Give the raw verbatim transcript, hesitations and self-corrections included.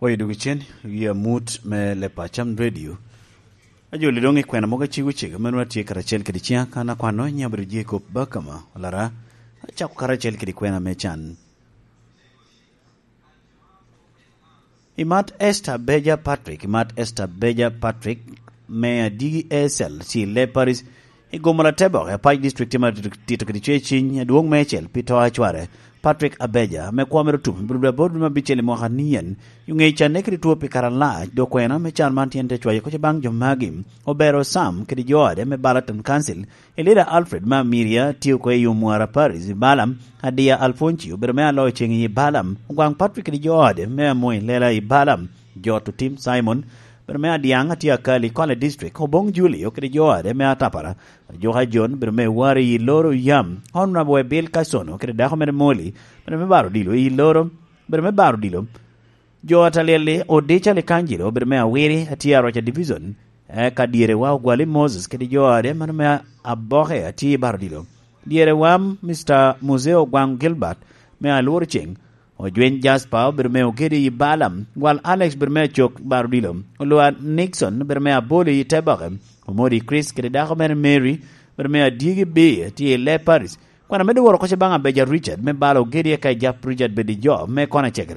Oyo dogicen, i amut me Lepacam Radio. Ajoli doŋ i kwena mogo acego cego, meno atye karacel kede ciŋa kan akwano, nyiŋa bedo Jacob Bakama, olara, acako karacel kede kwena me can. I mat Esther Beja Patrick, i mat Esther Beja Patrick, me Adigi A S L, ci Leparis, i gomo Latebok, i Apac District, tye ma tito kede cwer ciny, adwoŋ meicel pi to a cware, Patrick Abeja, ame kwo mere otum, bro dwe aboro dwe me abicel i mwaka nien, i ŋe canne kede two pi kare alac, dok kwena me can man tyen te cwayo koc baŋ jo magi, Obero Sam kede jo ode me Balaton Council, Elida Alfred me Amiria, tye oko i Omwara Parish i Balam, Adiya Alfonci, obedo me aloyo ceŋ i Balam, Ogwaŋ Patrick kede jo ode me Amoy Lela i Balam, Jot Otim Simon, obedo me Adiaŋ, atye Akali, Kole District, Oboŋ Julio kede jo ode me Atapara, Ajoka John, obedo me Wari i Loro Yam, Honorable Bill Kasono kede dako mere Moli, obedo me Baro Dilo i Loro, obedo me Baro Dilo, Jo Atalieli, Odica Likangelo, obedo me Awiri, atye Aroca Division, eka dyerewa Ogwali Moses kede jo ode, mano me Aboke, atye i Baro Dilo. Dyerewa Mister Museo Ogwaŋ Gilbert, me Alworo Ceŋ, Ojweny Jasper, obedo me Ogedi i Balam, Gwal Alex, obedo me Acok, Baro Dilo, Olwa Nixon, obedo me Aboli i Teboke, Omodi Chris kede dako mere Mary, obedo me Adyegi B, atye i Leparis. Kwan amedde woro koc baŋ Abeja Richard, me balo Ogedi, eka Ejap Richard bed i jo me Kona Cegere.